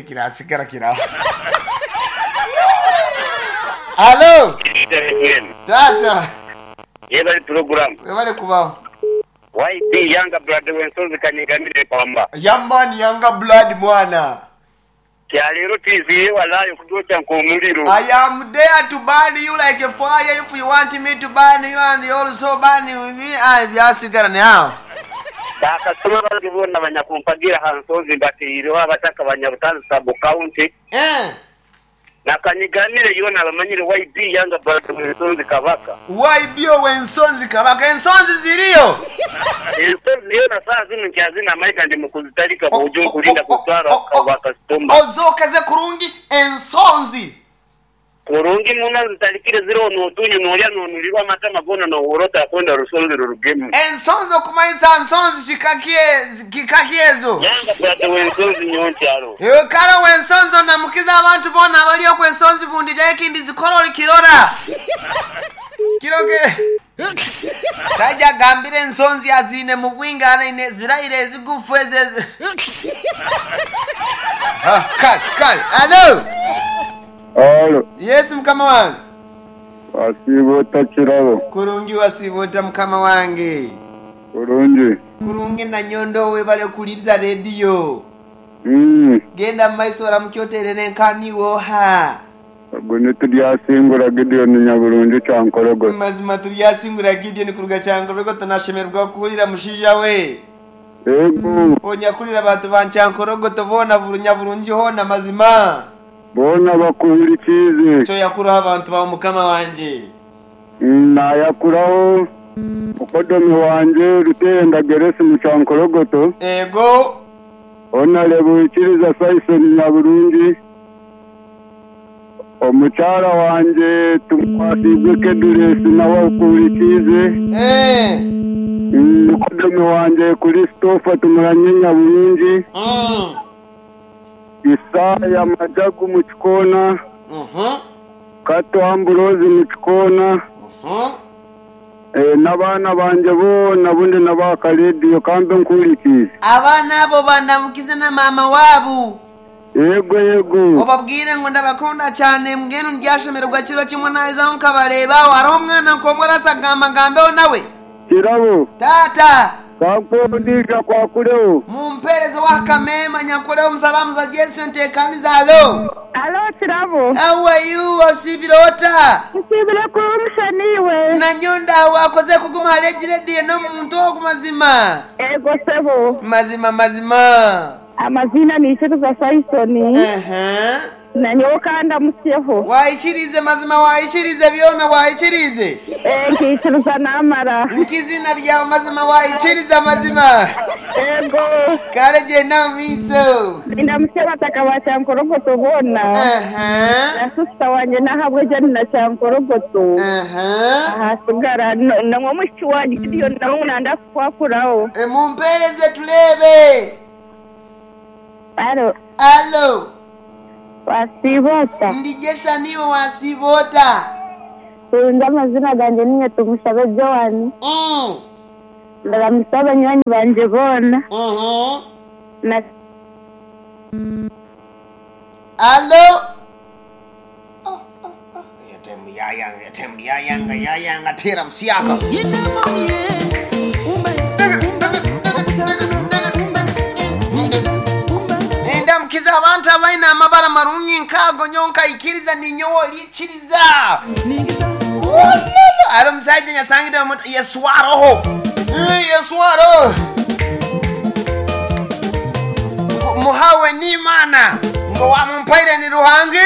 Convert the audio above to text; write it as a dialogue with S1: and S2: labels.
S1: Kirasigara kiraho. Halo taata.
S2: Yebale pulogulaamu.
S1: Webale kubaho.
S2: YB Younger Blood w'ensozi Kanyigamire Pamba.
S1: Ya man younger blood mwana.
S2: Kya leero twiziire walaayi okutwokya nk'omuliro.
S1: I am there to burn you like a fire if you want me to burn you and you also burn me aye byasigara now.
S2: Bakasitoma bange boona abanyakumpagira aha nsonzi mbateireho abataka ba Nyabutale Sub County.
S1: Eh.
S2: Na Kanyigamire yoona abamanyire YB Younger Brother w'ensonzi Kabaka.
S1: YB ow'ensonzi Kabaka. Ensonzi ziriyo?
S2: Ensonzi yoona saaha zinu nkyazine amaiga ndi mu kuzitalika bwojo nkulinda kutwara bakasitoma.
S1: Ozookeze kurungi ensonzi.
S2: Kurungi muno nzitalikire ziroho n'otunyu n'olya n'onulirwa amatama goona n'ohurra otakwenda rusonzi rurugemu.
S1: Ensonzi okumanyisa nsonzi kika ki kika ki ezo?
S2: Younger brother w'ensonzi nyowe nkyaro.
S1: Iwe kale ow'ensonzi onamukize abantu boona abali okwo ensonzi bundija ekindi zikora olikirora. Kirogere. Omusaija agambire ensonzi aziine mu bwingi aine ziraire ezigufu ezo ezi. Ha, kale, kale. Alo!
S3: Alo.
S1: Yes mukama wange.
S3: Wasiiba ota Kirabo?
S1: Kurungi wasiiba ota mukama wange?
S3: Kurungi.
S1: Kurungi Nanyondo webale kuwuliriza rediyo. Genda mumaiso oramukye oterere enkani iwe oha?
S3: Ogu ni Turyasingura Gideon Nyaburungi Kyankorogoto.
S1: Mazima Turyasingura Gideon kuruga Kyankorogoto nashemererwa kukuhurira mushaija we.
S3: Eego.
S1: Onyakurira abantu ba Kyankorogoto boona buri Nyaburungi hoona mazima.
S3: Boona bakuhurikiize.
S1: Kyoyakuraho abantu baawe mukama wangye.
S3: Naayakuraho mukodomi wangye Ruteerenda Geresi Mukyankorogoto.
S1: Eego.
S3: Honarebo Ikiriza Saison Nyaburungi. Omukyara wangye Tumukwasiibwe Keduresi nawe akuhurikiize.
S1: Eeh.
S3: Mukodomi wangye Kurisitofa Tumuranye Nyaburungi. Isaaya Majagu Mukikoona, Kato Amburozi Mukikoona, n'abaana bangye boona abu ndi nabo aha karediyo ka mbe nkuhurikiize.
S1: Abaana abo bandamukize na maama waabo.
S3: Yego yego.
S1: Obabwire ngu ndabakunda kyane mbwenu ndyashemererwa kiro kimwe naahizaho nkabareeba. Hariho omwana nk'omwe arasagamba ngambeho nawe.
S3: Kirabo.
S1: Taata.
S3: Kankuhe ondiijo akwakureho.
S1: Mumpeereze ow'aha kameema nyakureho omusalamuza Jesse nteekanize Alo.
S4: Alo Kirabo.
S1: How are you? Osiibire ota?
S4: Nsiibire kurungi sha naiwe?
S1: Nanyowe ndaho wakozire kuguma hare egi rediyo n'omuntu ogu mazima.
S4: Eego sebo.
S1: Mazima mazima.
S4: Amaziina ni Ikiriza Saisoni. Nanyowe ka ndamutsyeho.
S1: Waikiriize mazima waikiriize byona waikiriize.
S4: Ee nkaikiriza naamara.
S1: Nk'iziina ryawe mazima waikiriza mazima.
S4: Eego.
S1: Kare gyenda omu maiso.
S4: Nindamutsya abataka ba Kyankorogoto boona. Na sisita wangye n'ahabwe Jane na Kyankorogoto. Ahasigara n'omwishiki wangye Gideon nawe ngu nanda kukwakuraho.
S1: Mumpeereze tureebe.
S4: Alo.
S1: Alo.
S4: Wasiiba ota?
S1: Ndi gye sha naiwe wasiiba ota?
S4: Kurungi amazina gangye ninye Tumushabe Joan. Ndaramutsya banywani bangye boona. Na.
S1: Alo. Airtime yayanga, airtime yayanga, yayanga, teera busyaka. Nindamukiza abantu abaine amabara marungi nk'ago nyowe nkaikiriza ninyowe oriikiriza. Wololo! Hariho omushaija nyasangire bamuta Yesu aroho. Yesu aroho. Ngu muhawe n'Imana. Ngu owamumpaire ni Ruhanga.